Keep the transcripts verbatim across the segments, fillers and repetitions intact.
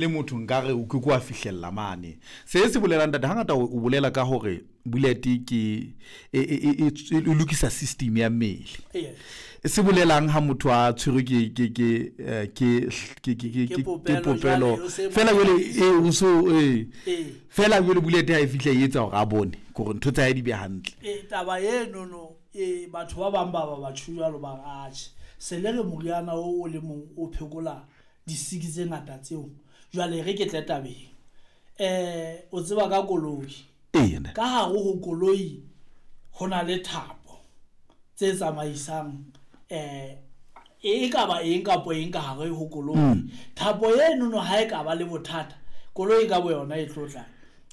Le motho nkare o ke ke wa fihlella mane. Se se bolelang ntate hangata o o bolela ka hore bullet ke e e e e lokisa system ya mmele. Yes. Se bolelang ha motho a tshwerwe ke ke ke eh, ke ke ke ke Ke ke popelo, popelo jwale o se fela jwale e o so e Ee. fela jwale bullet ha e fihla e etsa hore a bone hore ntho tsa hae di be hantle. E taba enono e batho ba bang ba ba batho jwalo ba re atjhe se le re moriana o o le mong o phekola disiki tse ngata tseo. Jwale re ke tle tabeng. Eh o tseba ka koloi. Ee ntate. Ka hare ho koloi ho na le thapo tse tsamaisang eh e ka ba eng kapo eng ka hare ho koloi. Mm. Thapo enono ha e ka ba le bothata, koloi ka bo yona e tlo tla.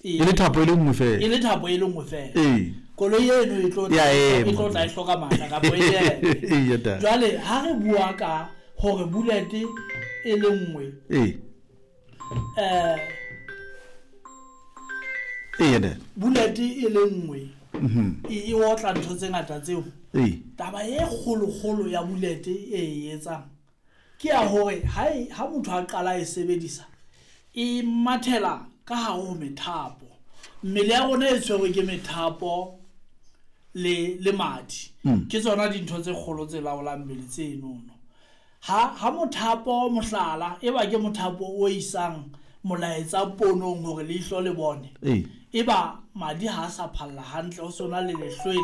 E le thapo e le nngwe fela. E le thapo e le nngwe fela. Ee. Koloi eno e tlo Ya tla e ema. tlo tla e hloka matla kapo e eme. Ee ntate. Jwale ha re bua ka hore bullet e le nngwe Ee. eh Ee ntate. bullet e le nngwe Mhm. e e otla ntho tse ngata tseo. Ee. Taba e kgolokgolo ya bullet e e etsang ke ya hore ha e ha motho a qala e sebedisa e mathela ka hare ho methapo. Mmele ya rona e tshwerwe ke methapo le le madi. Mm. Ke tsona dintho tse kgolo tse laolang mmele tsenono. Ha ha mothapo mohlala e ba ke mothapo o isang molaetsa ponong hore leihlo le bone. Ee. Eba madi ha a sa phalla hantle ho sona le lehlwele.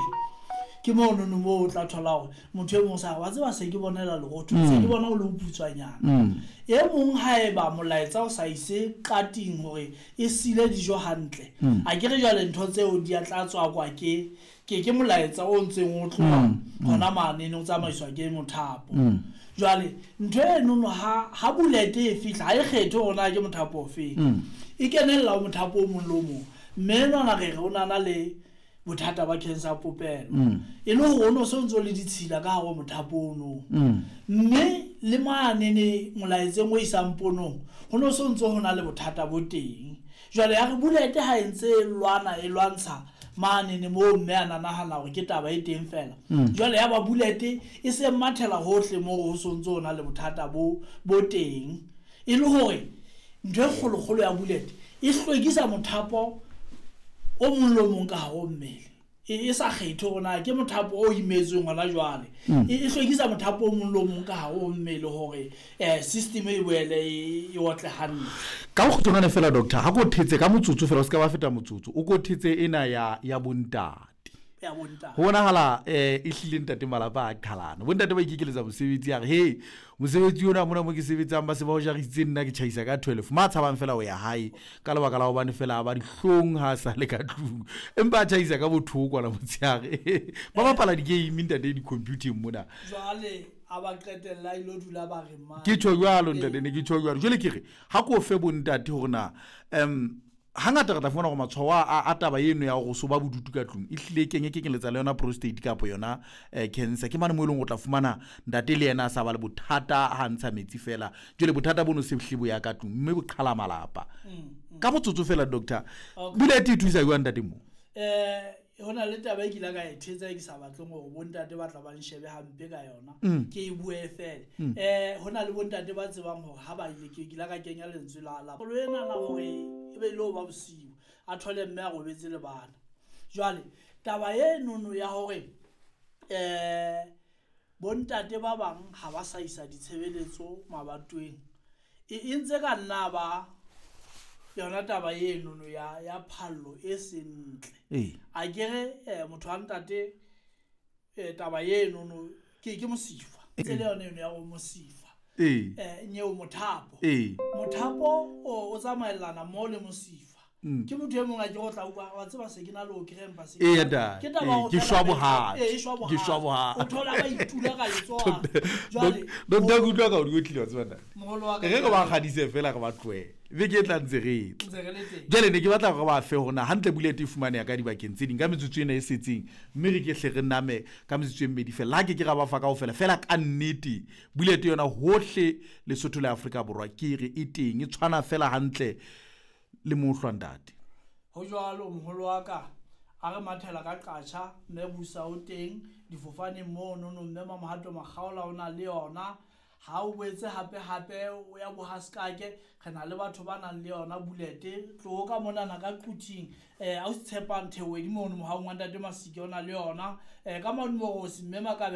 Ke monono moo o tla thola hore motho e mong sa re wa tseba se ke bonela lerotho se ke bona o le boputswanyana. Mm. E mong haeba molaetsa o sa ise qating hore e sile dijo hantle. Mm. A ke re jwale ntho tseo di a tla tswakwa ke ke ke molaetsa o ntseng o tloha Mm, mm. hona mane o tsamaiswa ke mothapo. Mm. Jwale ntho enono ha ha bullet e fihla ha e kgethe hore na ke mothapo ofeng. Mm. E kenella ho mothapo o mong le o mong. Mme enwana re re o nana le bothata ba cancer ya popelo. Mm. E le hore o no so ntso le ditshila ka hare ho mothapo ono. Mm. Mme le manene molaetseng o isang ponong ho no so ntso ho na le bothata bo teng. Jwale ya re bullet ha e ntse e lwana e lwantsha manene moo mme a na nahana hore ke taba e teng fela. Mm. Jwale ya ba bullet e se mathela hohle moo ho so ntso ho na le bothata bo bo teng. E le hore ntho e kgolokgolo ya bullet e hlwekisa mothapo o mong le o mong ka hare ho mmele. E e sa kgethe hore na ke mothapo o imetsweng hona jwale. Mm. E e hlwekisa mothapo o mong le o mong ka hare ho mmele hore eh system e boele e e otle hantle. Ka bokgutshwane fela doctor, ha ko thetse ka motsotso fela o ska ba feta motsotso, o ko thetse ena ya ya bontate. Ya bontate. Ho bonahala eh e hlile ntate malapa a qhalana. Bontate ba ikekeletsa mosebetsi a re he mosebetsi ona mona mo ke sebetsang ba se ba o jarisitse nna ke tjhaisa ka twelve. Ma tshabang fela ho ya hae ka lebaka la hobane fela ba dihlong ha sa le ka tlung. Empa a tjhaisa ka bothoko la motshehare. Ba bapala di-game ntate di-computing mona. Jwale a ba qetella ilo dula ba re mang. Ke tjho jwalo ntate ne ke tjho jwalo. Jwale ke re ha ko fe bontate hore na em hangata re tla fumana hore matshwao a, a taba eno ya hore so ba bodutu ka tlung e hlile kenye kekeletsa le yona prostate kapa yona eh, cancer. Ke mane mo eleng o tla fumana ntate le yena a sa ba le bothata ha ntsha metsi fela. Jwale bothata bono se hlile bo ya ka tlung mme bo qhala malapa. Mm, mm. Ka motsotso fela doctor, Okay. bullet e thusa jwang ntate mo? Eh hona le taba e ke ile ka e thetsa e ke sa batleng hore bontate ba tla ba nshebe hampe ka yona. Mm. Ke e bue fela. Mm. Eh hona le bontate ba tsebang hore ha ba ile ke ile ka kenya lentswe la la. Polo ena la hore e be le ho ba bosiu a thole mme a robetse le bana. Jwale taba enono ya hore eh bontate ba bang ha ba sa isa ditshebeletso mabatoweng e e ntse ka nna ba yona taba enono ya ya phallo e seng ntle. Ee. A ke re eh, motho wa ntate eh, taba enono ke ke mosifa. Tse le yona eno ya ho mosifa. Ee. Eh nyeo mothapo. Ee. Mothapo o o tsamaellana mo le mosifa. Mm. Ke motho e mong a ke go tla utlwa wa tseba se ke na le o krempa se. Ee, ntate. Ke taba Ee, ho ke fela shwa methapo. bohadi. Ee, e shwa Ke shwa bohadi. bohadi. O thola ba itula ka letsoho. Jwale Doctor ke utlwa ka o di otlile wa tseba ntate. Moholo wa ka Re re ba kgadise fela re ba tlohele. Beke e tla ntse re tla. Ntse re le teng. Jwale ne ke batla hore ba fe hore na hantle bullet e fumaneha ka dibakeng tse ding ka metsotso ena e setseng mme re ke hle re name ka metsotso e mmedi fela. Ha ke ke ra ba fa kaofela fela ka nnete bullet yona hohle Lesotho le Afrika Borwa ke re e teng e tshwana fela hantle le mohlwa ntate. Ho jwalo moholo wa ka a re mathela ka qatjha mme busa o teng difofaneng mono no mme Mamohato Makgaola o na le yona. Ha o boetse hape hape o ya bohaskake, re na le batho ba nang le yona bulete. Tloho ka monana ka Quthing, um a o se tshepang Thewedi mono mohaong wa ntate Masike o na le yona. um Ka mane Morosi mme Makabe.